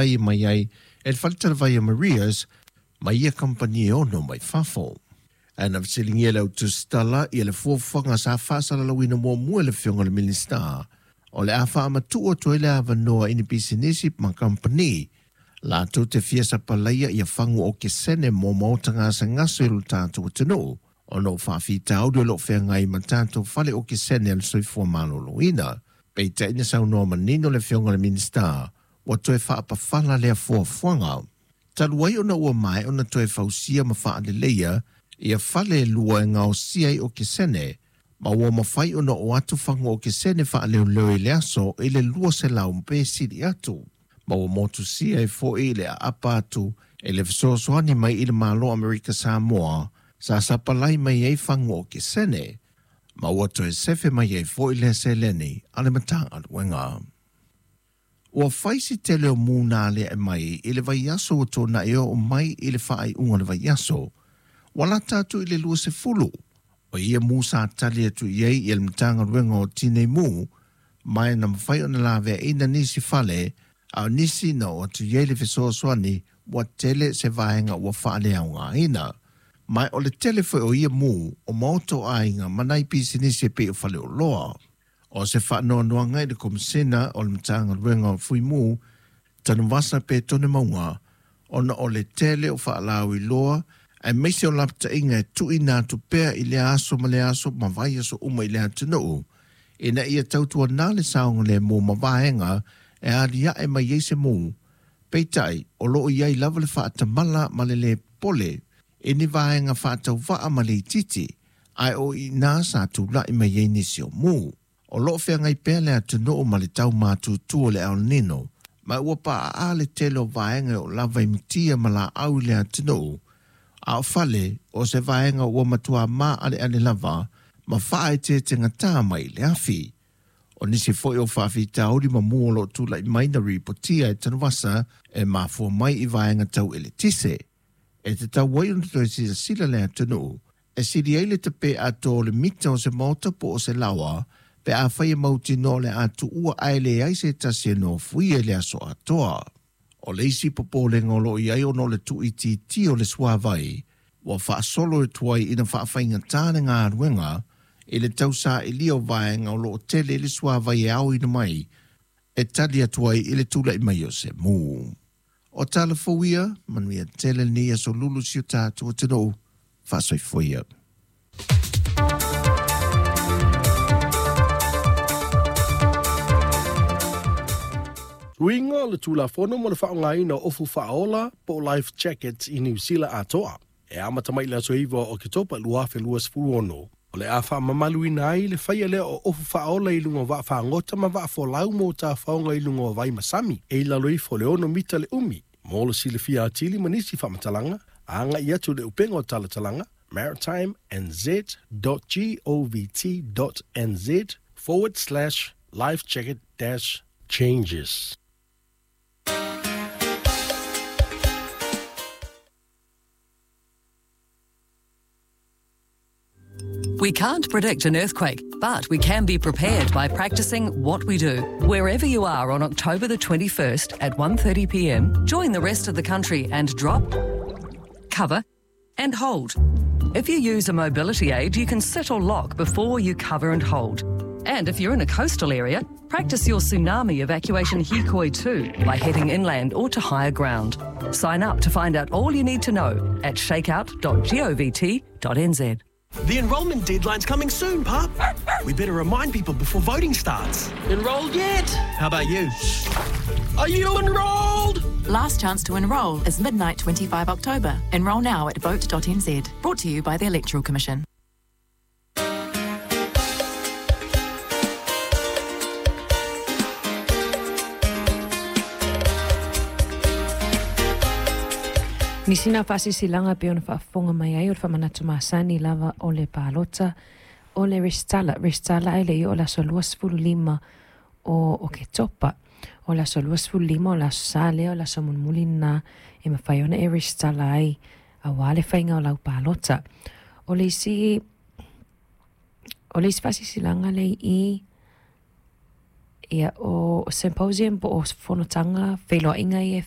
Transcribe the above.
Mai ai e le faletalavai a Maria's ma ia kamupani e ono mai fafo. Ae na fesiligia e le autusitala ia le fuafuaga sa faasalalauina muamua e le Afioga i le Minisita o le a faamatuu atu ai le avanoa i ni pisinisi ma kamupani latou te fia sapalaia ia fagu okesene mo maota gasegase o lo tatou atunuu ona o faafitauli o lo o feagai ma tatou fale okesene a le soifua maloloina. Peitai na saunoa manino le Afioga i le Minisita ua toe faapafala lea fuafuaga. Talu ai ona ua maea ona toe fausia ma faaleleia ia fale e lua e gaosia ai okesene, ma ua mafai ona oo atu fagu okesene faaleoleo i le aso i le 200 pe sili atu, ma ua motusia ai foi le aapa atu e le fesoasoani mai i le Malo o Amerika Samoa sa sapalai mai ai fagu okesene, ma ua toe sefe mai ai foi lea seleni a le Matagaluega. Ua fai si tele o mū na aliae mai i le vaiaso ua tuanai e oo mai i le faaiuga o le vaiaso, ua lata atu i le 20 o ia mū sa tali atu i ai le Matagaluega o Tinei Mu, ma e na mafai ona laveaina nisi fale, a o nisi na oo atu i ai le fesoasoani ua tele se vaega ua faaleaogaina. Ma o le tele foi o ia mū o maota o aiga ma nai pisinisi e pei o faleoloa. O se faanoanoaga i le Komesina o le Matagaluega o Fuimu, Tanuvasa Petone Mauga, ona o le tele o faalauiloa aemaise o lapataiga e tuuina atu pea i lea aso ma lea aso ma vaiaso uma i le atunuu, ina ia tautuana le saogalemu ma vaega e aliae mai ai se mū. Peitai, o lo o i ai lava le faatamala ma le lē pole i ni vaega faatauvaa ma le itiiti, ae o i ina sa tulai mai ai nisi o mū. O lo o feagai pea le atunuu ma le tau matutu o le El Nino, ma ua paaa le tele o vaega e oo lava i mutia ma laau i le atunuu, a o fale o se vaega ua matua maaleale lava ma faaeteetegatā mai i le afi. O nisi foi o faafitauli ma mū o lo o tulai mai na ripotia e Tanuvasa e mafua mai i vaega tau eletise, e tatau ai ona toe silasila le atunuu e sili ai le tape atoa o le mita o se maota po o se laoa pe afai e mautinoa o le a tuua ae leai se tasi e nofoia i le aso atoa. O le isi popolega o lo o i ai ona o le tuuitiitia o le suavai ua faasolo e tuai ina faafaigatā le galuega i le tausailia o vaega o lo o tele i le suavai e aoina mai e tali atu ai i le tulai mai o se mū. O tala fou ia, manuia tele lenei aso lulu si o tatou atunuu, faasoifua ia. Suiga o le Tulafono mo le Faaaogaina o Ofu Faaola po o Life Jackets i Niu Sila atoa. E amata mai i le aso 9 o Oketopa 2026, o le a faamamaluina ai le faia lea o ofu faaola i luga o vaafagota ma vaafolau mo tafaoga i luga o vai ma sami e i lalo ifo o le 6 mita le umi. Mo le silafia atili ma nisi faamatalaga, agai atu i le upega o talatalaga maritimnz.govt.nz forward slash lifejacket dash changes. We can't predict an earthquake, but we can be prepared by practicing what we do. Wherever you are on October the 21st at 1:30 p.m., join the rest of the country and drop, cover, and hold. If you use a mobility aid, you can sit or lock before you cover and hold. And if you're in a coastal area, practice your tsunami evacuation hikoi too by heading inland or to higher ground. Sign up to find out all you need to know at shakeout.govt.nz. The enrolment deadline's coming soon, Pup. We better remind people before voting starts. Enrolled yet? How about you? Are you enrolled? Last chance to enrol is midnight 25 October. Enrol now at vote.nz. Brought to you by the Electoral Commission. Nisi na faasilasilaga e pei ona faafofoga mai ai o le faamanatu masani lava o le palota o le resitala, resitala ae le i oo le aso 25 o Oketopa. O le aso 25 o le aso Sa lea o le aso mulimuli lena e mafai ona e resitala ai auā le faiga o lau palota. O le isi o le isi faasilasilaga lea i i, ia o symposium po o fonotaga feiloaiga ia e